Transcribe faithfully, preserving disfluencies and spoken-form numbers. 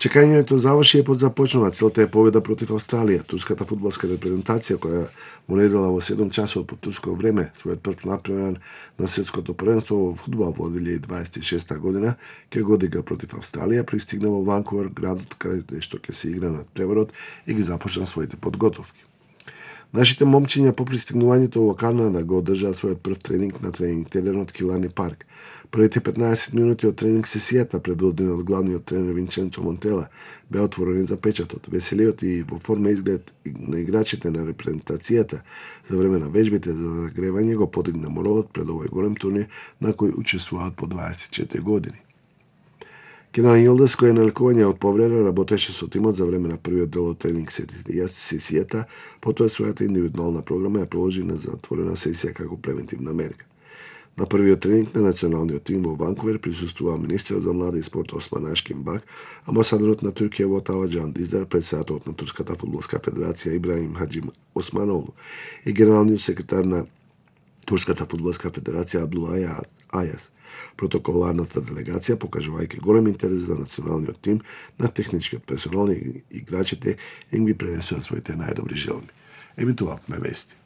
Чекањето заврши и подзапочнува. Целта е победа против Австралија. Турската фудбалска репрезентација, која му недела во седум часот по турско време својот прв натпревар на светското првенство во фудбал во две илјади дваесет и шеста година, ќе го одигра против Австралија, пристигна во Ванкувер, градот каде што ќе се игра натпреварот и ги започна своите подготовки. Нашите момчиња по пристигнувањето во Канада го одржаа својот прв тренинг на тренинг теренот Килани парк. Првите петнаесет минути од тренинг сесијата, предводена од главниот тренер Винченцо Монтела, беа отворени за печатот. Веселиот и во форма изглед на играчите на репрезентацијата за време на вежбите за загревање го подигна моралот пред овој голем турнир на кој учествуваат по дваесет и четири години. Кенан Јилдас, кој е на лекување од повреда, работеше со тимот за време на првиот дел од тренинг сесијата, потоа својата индивидуална програма ја приложи на затворена сесија како превентивна мерка. На првиот тренинг на националниот тим во Ванкувер присуствува министерот за млади и спорт Осман Ашкин Бак, амбасадорот на Туркија во Отава Џан Диздар, председателот на Турската фудбалска федерација Ибраһим Хаџи Османолу и генералниот секретар на Турската фудбалска федерација Абдулај Ајас. Протоколарната делегација, покажувајќи голем интерес за националниот тим, на техничкиот персонал и играчите, им ги пренесува своите најдобри желби. Емитувавме вести.